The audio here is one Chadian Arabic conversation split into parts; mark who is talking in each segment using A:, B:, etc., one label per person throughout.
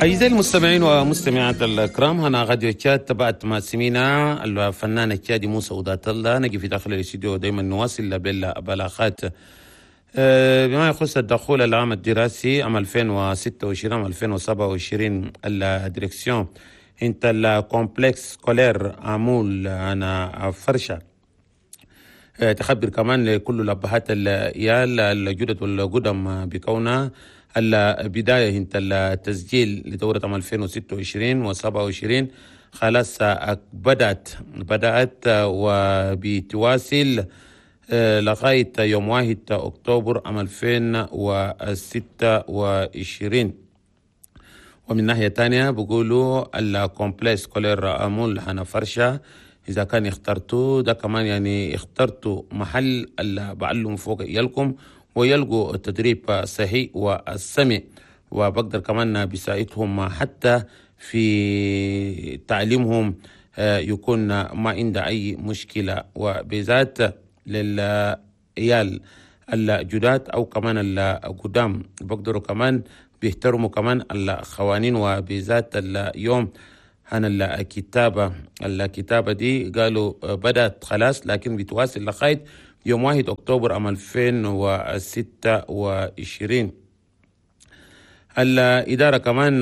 A: أعزائي المستمعين ومستمعات الكرام، هنا راديو تشاد. تبعت ما سمينا الفنان التشادي موسى ودات الله. نجي في داخل الاستديو دائما نواصل بالبلاغات بما يخص الدخول العام الدراسي عام 2026 عام 2027. ال direction انت ال complexe scolaire امول هنا فرشه تخبر كمان لكل الأبهات العيال الجدد والقدم بكونها البداية انت التسجيل لدورة عام 2026 و 27 خلاص بدأت وبتواصل لغاية يوم 1 أكتوبر عام 2026. ومن ناحية تانية بيقولوا ال complexe scolaire أمول هنا فرشة، إذا كان اخترتوا ده كمان يعني اخترتوا محل اللي بعلم فوق عيالكم ويلقوا التدريب الصحيح والسمع، وبقدر كمان بيساعدهم حتى في تعليمهم يكون ما عنده أي مشكلة، وبذات للعيال الجداد أو كمان القدام بقدروا كمان بيحترموا كمان القوانين. وبذات اليوم هنا الكتابة دي قالوا بدأت خلاص، لكن بتواصل لغاية يوم 1 أكتوبر عام 2026. الإدارة كمان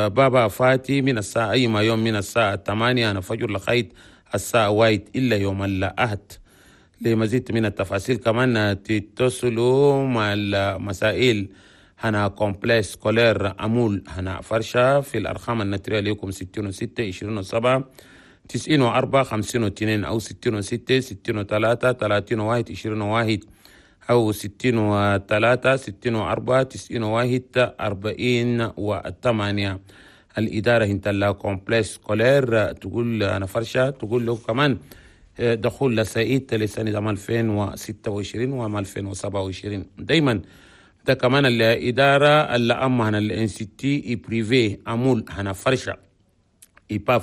A: بابا فاتي من الساعة أي ما يوم من الساعة 8 أنا فجر لغاية الساعة 1 إلا يوم الأحد. لمزيد من التفاصيل كمان تتصلوا مع المسائل هنا complexe scolaire أمول هنا فرشة في الأرقام النترية ليكم 66 27 94 52 أو 66 63 31 21 أو 63 64 91 48. الإدارة انت ال complexe scolaire تقول أنا فرشة تقول له كمان دخول لسعيد لسنة 2026 و 2027. دايما ده كمان الإدارة اللي أما هنا ال institut privé أمول هنا فرشة IPAF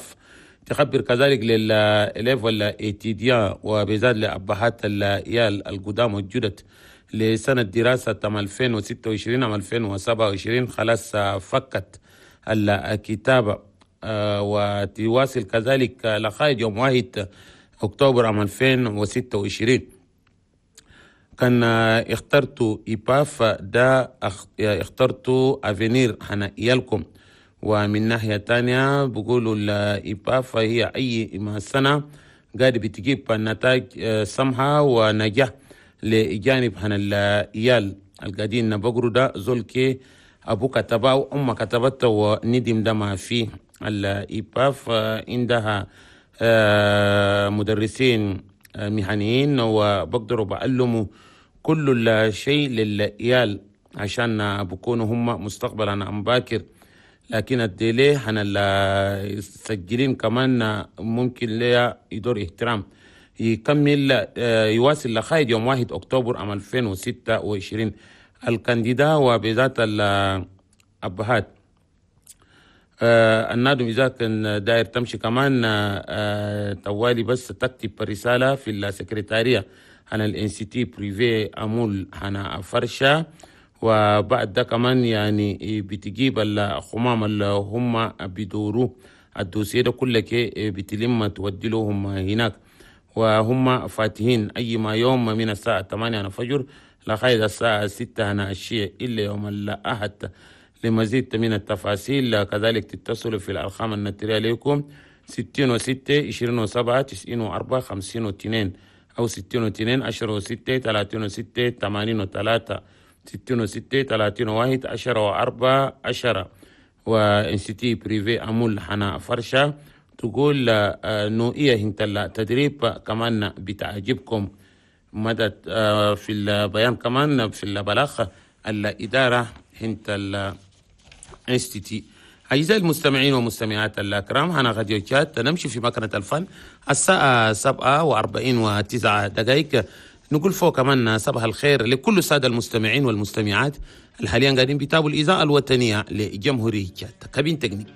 A: تخبر كذلك لل élèves ولا étudiants وبزاد لأبهات العيال القدام والجدد لسنة دراسة 2026 عام 2027 خلاص فكت الكتابة وتواصل كذلك لغاية يوم 1 أكتوبر عام 2026. كان اخترتوا IPAF ده اخترتوا avenir هنا عيالكم. ومن ناحية تانية بيقولوا ال IPAF هي أي ما سنة قاعدة بتجيب النتائج سمحة ونجاح لجانب هنا العيال القاعدين بقروا ده زول كي أبو كتبه وأمه كتبته وندم ده ما فيه. ال IPAF عندها مدرسين مهنيين وبقدروا بعلموا كل الشيء للعيال عشان بكونوا هم مستقبلا أم باكر. لكن ال délai هنا السجلين كمان ممكن ليا يدور احترام يكمل يواصل لغاية يوم 1 أكتوبر عام 2026. ال candidats وبذات الأبهات النادم إذا كان داير تمشي كمان طوالي بس تكتب رسالة في السكرتارية هنا ال institut privé أمول هنا فرشة. وبعد ده كمان يعني بتجيب الخمام اللي هم بيدوروا ال dossier ده كله بتلم تودي لهم هناك، وهم فاتحين أي ما يوم من الساعة 8 الفجر لغاية الساعة 6 هنا الشيء إلا يوم الأحد. لمزيد من التفاصيل كذلك تتصلوا في الأرقام النترية لكم 66 27 94 52 أو 62 10 6 36 83 66 31 10 و4 10. و institut privé أمول حنا فرشة تقول نوعية انت التدريب كمان بتعجبكم. مدى في البيان كمان في البلاغ الإدارة هنت ال institut. أعزائي المستمعين والمستمعات الكرام، هنا راديو تشاد نمشي في مكنة الفن الساعة 47:09. نقول فوق كمان صباح الخير لكل السادة المستمعين والمستمعات الحاليا قاعدين بيتابعوا الإذاعة الوطنية لجمهورية تشاد. cabine technique.